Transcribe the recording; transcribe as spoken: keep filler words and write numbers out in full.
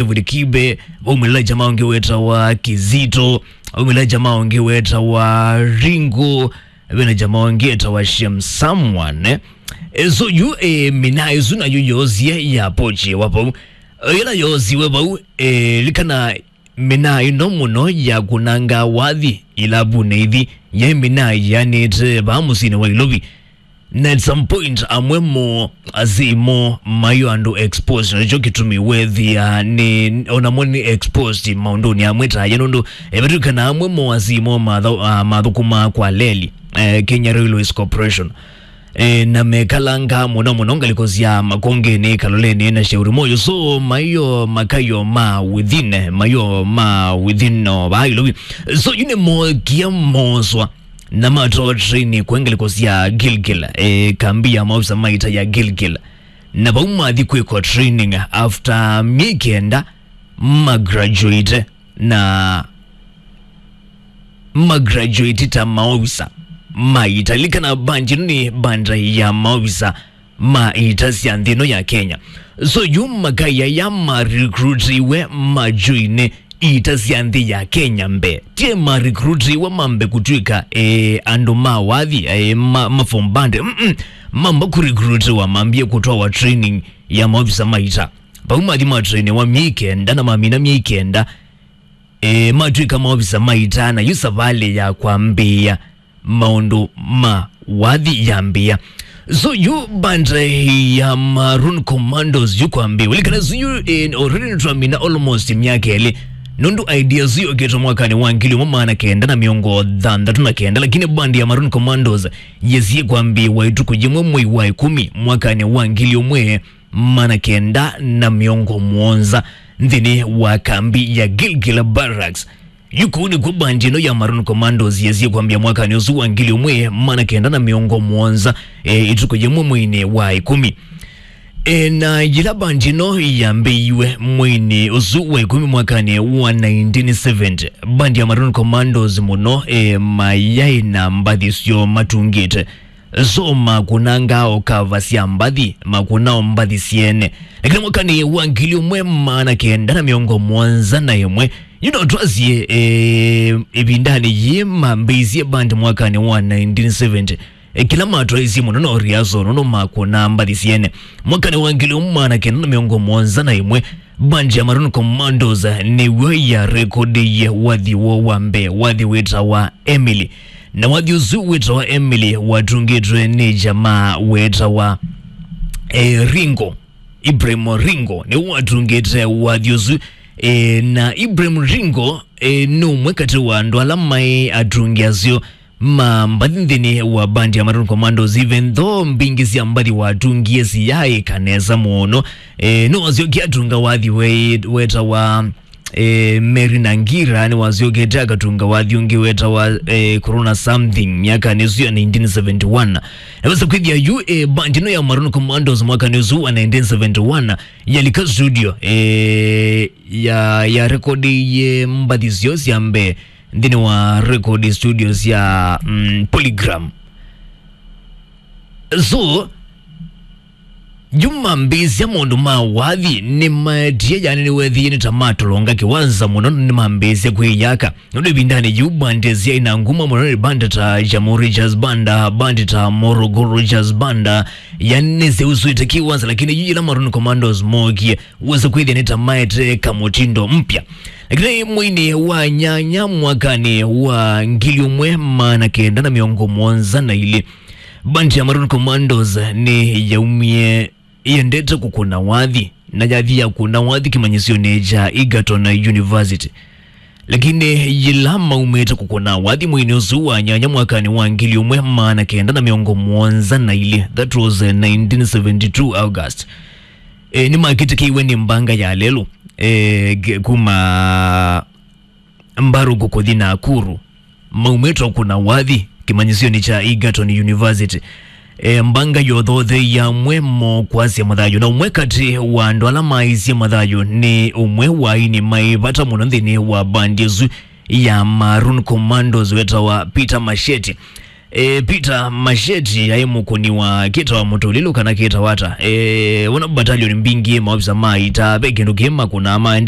David Kibe, vaumĩla jamaa ũngĩ wetawa Kizito, vaumĩla jamaa ũngĩ wetawa Ringo, vena jamaa ũngĩ etawa Shem Someone. E, so yu, e, mina ĩsu nayo yoosie ya pochi wa vau. E, yĩla yoosiwe vau, e, likana mina ĩno mũno ya kunanga wathi ilabunĩ ithi, yaĩ mina yanĩte vaa mũsyĩnĩ wa Ilovi. Na at some point, amwe mo asimo mayo andũ exposed, na nĩkyo kĩtumi wethĩa nĩ, onamo nĩ exposed maũndũnĩ amwe ta aya, nũndũ, eh, vatwĩkana amwe mo asimo matha-, ah, mathũkũmaa kwa leli, eh, Kenya Railways Corporation. Eh, na mekalanga mũno mũno ngalĩko sya Makongeni, Kaloleni na Shauri Moyo. So, mayo makayo ma within, mayo ma within no vaa Ilovi. So, yu nĩmokie moswa na matwawa training kwa ngalĩko sya Gilgil, eh, kambi ya maofisa ma ita ya Gilgil. Na vau mathi kwĩkwa training after myei kenda ma graduate na ma graduate ta maofisa ma ita. Likana bandi ĩno nĩ bandi ya maofisa ma ita sya nthĩ ĩno ya Kenya. So yu makaya ya ma recruitiwe ma join ita sya nthĩ ya Kenya mbee. Tie ma recruitiwe mambe kũtw'ĩka, eh, andũ ma wathi, eh, ma, ma form band. Mm-mm. Mamba kũrecruitiwa mambie kũtwawa training ya maofisa ma ita. Vau mathi ma trainiwa myei kenda na mamina myei kenda, e, matw'ĩka maovisa ma ita, na yu savalĩ ya kwambĩĩa maũndũ ma wathi yambĩĩa. So yu band ya Maroon Commandos yu kwambĩĩwa. Likana su yu, e, already nĩtwamina almost myaka ĩlĩ. Nũndũ idea su yokĩtwe mwakanĩ wa ngili ũmwe maana kenda na mĩongo thanthatũ na kenda, lakini band ya Maroon Commandos yesie kwambĩĩwa ĩtukũ yĩmwe mwei wa ĩkũmi mwakanĩ wa ngili ũmwe maana kenda na mĩongo mũonza nthĩnĩ wa kambi ya Gilgil Barracks. Yu kũu nĩkw'o bandi ĩno ya Maroon Commandos yesie kwambĩa mwakanĩ ũsu wa ngili ũmwe maana kenda na mĩongo mũonza, e, ĩtukũ yĩmwe mweinĩ wa ĩkũmi. E, na yĩla bandi ĩno yambĩĩiwe mweinĩ ũsu wa ĩkũmi mwakanĩ wa nineteen seventy, bandi ya Maroon Commandos mũno, e, mayaĩ na mbathi syoo matungĩte. So makũnangaa o kava sya mbathi, makũna o mbathi syene. Lakini mwakanĩ wa ngili ũmwe maana kenda na mĩongo mũonza na ĩmwe, yu no twasye, e, ĩvindanĩ yĩĩ mambĩĩisye band mwakanĩ wa nineteen seventy. E, kĩla matwaisye mũno no riaso, nũndũ makũnaa mbathi syene. Mwakanĩ wa ngili ũmwe maana kenda na mĩongo mũonza na ĩmwe, band ya Maroon Commandos nĩw'o yarekodie wathi woo wa mbee, wathi wĩtawa Emily. Na wathi ũsu wĩtawa Emily watungĩtwe nĩ jamaa wĩtawa, eh, Ringo. Ibrahim Ringo nĩwe watungĩte wathi ũsu. Eh, na Ibrahim Ringo, eh, nĩ ũmwe katĩ wa andũ ala maĩ atungi aseo ma mbathi nthĩnĩ wa band ya Maroon Commandos, even though mbingĩ sya mbathi watungie siyaĩka nesa mũno. Eh, nĩwasyokie atunga wathi we-, wetawa, eh, Mary Nangira, nĩwasyokete akatunga wathi ũngĩ wetawa, eh, Corona Something myakanĩ ĩsu ya nineteen seventy-one. Naweza kwĩthĩa yu, eh, band ĩno ya Maroon Commandos mwakanĩ ũsu wa nineteen seventy-one yalika studio, eh, ya, ya rekodiie mbathi syoo sya mbee nthĩnĩ wa record studio sya, mm, Polygram. So, yu mambĩĩsya maũndũ ma wathi nĩmaetie, yani nĩwethĩie nĩ ta matolonga kĩwanza mũno, nĩmambĩĩsya kwĩyaka. Nũndũ ĩvindanĩ yĩu bandi syaĩ na nguma mũno nĩ bandi ta Jamhuri Jazz Band, bandi ta Morogoro Jazz Band, yani nĩsyausũĩte kĩwanza, lakini yu yĩla Maroon Commandos mookie, wesa kwĩthĩa nĩ ta maete kamũtindo mpya. Lakini mweinĩ wa nyanya mwakanĩ wa ngili ũmwe maana kenda na mĩongo mũonza na ilĩ, bandi ya Maroon Commandos nĩ yaumie yendete kũkũna wathi, na yathi ya kũna wathi kĩmanyĩsyonĩ kya Egerton University. Lakini yĩla maumĩte kũkũna wathi mweinĩ ũsu wa nyanya mwakanĩ wa ngili ũmwe maana kenda na mĩongo mũonza na ilĩ, that was, eh, nineteen seventy-two August, eh, nĩmakĩtĩkĩiwe nĩ mbanga ya lelũ, eh, ge-, kuma Mbarũkũ kũthi Nakuru, maumĩte kũkũna wathi kĩmanyĩsyonĩ kya Egerton University. E, mbanga yothotheiwe amwe mo kwasya mathayũ, na ũmwe katĩ wa andũ ala maisye mathayũ nĩ ũmwe wa aini maĩ vata mũno nthĩnĩ wa bandi ĩsu ya Maroon Commandos wetawa Peter Masheti. E, Peter Masheti aĩ mũkũni wa kĩtawa mũtũlĩlũ kana kĩtawa ata. E, wona battalion mbingĩ maofisa ma ita ve kĩndũ kĩ makũnaa maendete